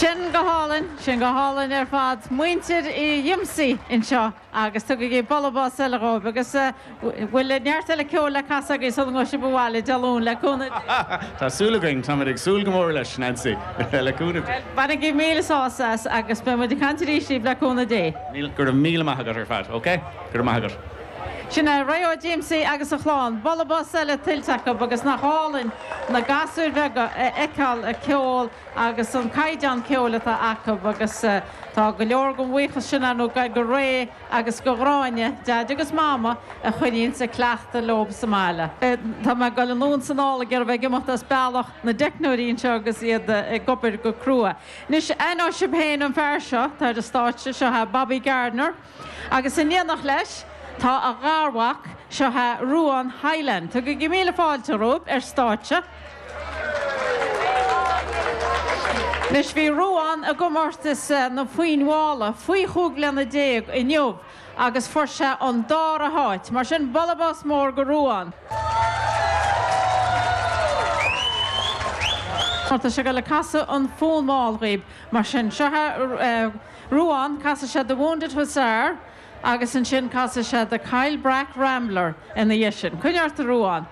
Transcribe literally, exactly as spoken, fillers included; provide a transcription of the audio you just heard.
Sin go hálainn, sin go hálainn ar fad muintir Uí Dhiomsaigh anseo agus tugaigí bualadh bos eile dhóibh agus bhfuil neart eile ceoil le casadh agaibh sula ngabhfaidh sibh abhaile Dé Luain le cúnamh Dé. Tá súil againn, táimid ag súil go mór leis, Nancy, le cúnamh Dé. Bainigí míle sásamh as agus beidh muid ag caint arís libh le cúnamh Dé. Go raibh míle maith agat ar fad, ok? Go raibh maith agat. Sin é Ray Ó Díomsaigh agus a chlann, bualadh bos eile tuillte acu agus nach álainn na gasúir bheaga a fheiceáil ag ceol agus an caighdeán ceoil atá acu agus tá go leor den bhuíochas sin ar ndóigh go Ray agus go Gráinne, Daid agus Mama, a choinníonns ag cleachtadh leo sa mbaile. Tá mé ag dul anonn is anall ag iarraidh bheith ag imeacht as bealach na dteicneoirí anseo agus iad ag obair go crua. Anois, aithneoidh sibh féin an fear seo, tá ar an stáitse, seo é Bobby Gardiner agus in éineacht leis, Tá a gharmhac, seo é Ruán Hyland. Tugaigí míle fáilte rompu ar stáitse. Anois bhí Ruán i gcomórtas na foinn mhála faoi chúig bliana déag inniu agus fuair sé an dara háit. Mar sin, bualadh bos mór go Ruán. Tá sé ag dul ag casadh an fonn mall dhaoib. Mar sin, seo é Ruán, casfaidh sé The Wounded Hussar. Agus ansin casfaidh sé The Kyle Brack Rambler ina dhiaidh sin. Coinnigh ort a Ruán.